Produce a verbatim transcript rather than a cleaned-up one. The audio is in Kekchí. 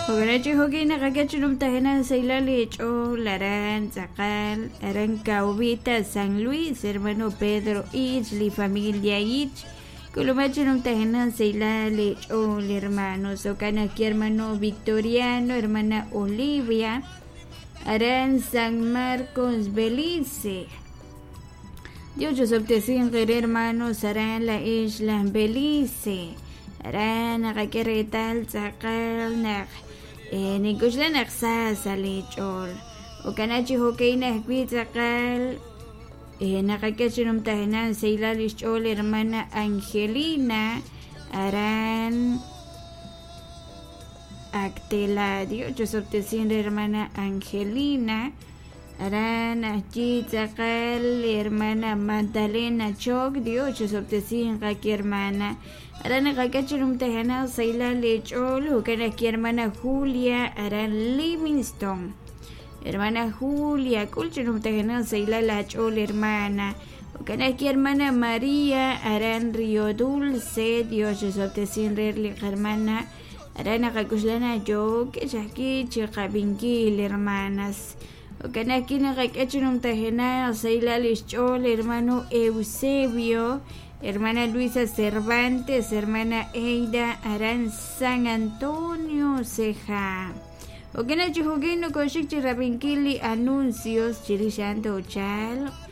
Jo'kan chi jo'kan naqak'e saylal li ch'ool aran tz'aqal aran Caobita San Luis, hermano Pedro Ich, li familia Ich. K'ulumaj chi numtajenaq saylal li ch'ool hermanos. Jo'kan ajwi' hermano Victoriano, hermana Olivia, aran San Marcos, Belice. Dios chusobtesinq hermanos aran la isla Belice. Aran naqak'e reetal tz'aqal naq eh, nink'uxla naq sa sa' li ch'ool. Jo'kan chi jo'kan ajwi' tz'aqal eh, naqak'e chi numtajenaq saylal li xch'ool hermana Angelina aran Actela. Dios chusobtesin hermana Angelina. Aran ajwi' tz'aqal hermana Magdalena Choc. Dios chusobtesin qaki hermana. Aran naqak'e chi numtajenaq saylal li ch'ool. Jo'kan ajwi' hermana Julia aran Livingston. Hermana Julia, k'ul chi numtajenaq saylal la ch'ool hermana. Jo'kan ajwi' hermana María aran Río Dulce. Dios chusobtesin li hermana. Aran naqak'uxlana yook xajki chiqab'inkil hermanas. Jo'kan ajwi' naqak'e chi numtajenaq saylal li xch'ool hermano Eusebio, hermana Luisa Cervantes, hermana Eida aran San Antonio Ceja. Jo'kan chi jo'kan nokoxik chi rab'inkil li anuncios chirix a'an toochalq.